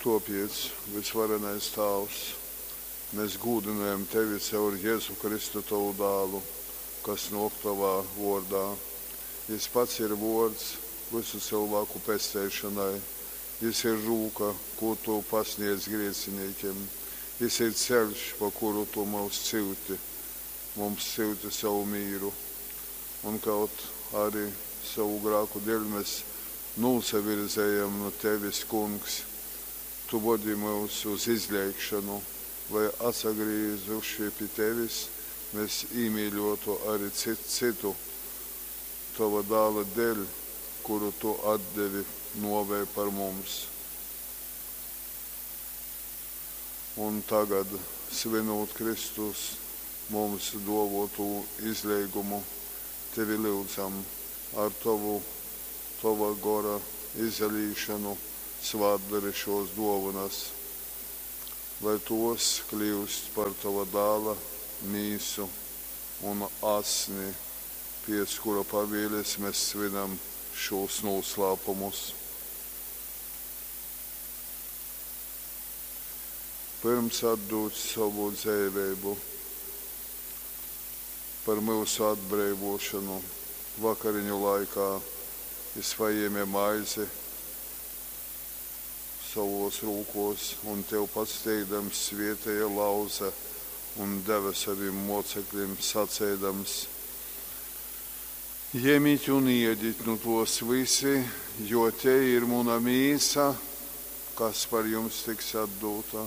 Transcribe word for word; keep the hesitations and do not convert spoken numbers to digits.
Tuopiec, Vysvarenais Tāvs, mes gūdynojam Tevi caur Jezu Kristu Tovu Dālu, kas nuok Tovā vuordā. Jis pats ir Vuords vysu cylvāku pesteišonai. Jis ir rūka, kū Tu pasniedz griecinīkim. Jis ir ceļš, pa kuru Tu myus syuti, mums syuti sovu mīru. Un kaut ari sovu grāku deļ mes nūsavirzejam nu Tevis, Kungs, Tu vodi myus uz izleigšonu, lai, atsagrīzuši pi Tevis, mes īmīļuotu ari cyts cytu Tova Dāla deļ, kuru Tu atdevi nuovei par mums. Un tagad, svynūt Kristus mums duovuotū izleigumu, Tevi lyudzam, ar Tovu Tova Gora izalīšonu svātdori šuos duovonys, lai tuos kliust par Tova Dāla Mīsu un Asni, piec kura pavielis mes svynam šūs nūslāpumus. Pyrms atdūt sovu dzeiveibu par myusu atbreivuošonu, vakariņu laikā Jis pajēme maizi sovuos rūkuos un, Tev pasateikdams, svieteja, lauze un deve sovim muoceklim, saceidams: Jemit un iedit nu tuos vysi, jo tei ir muna mīsa, kas par jums tiks atdūta.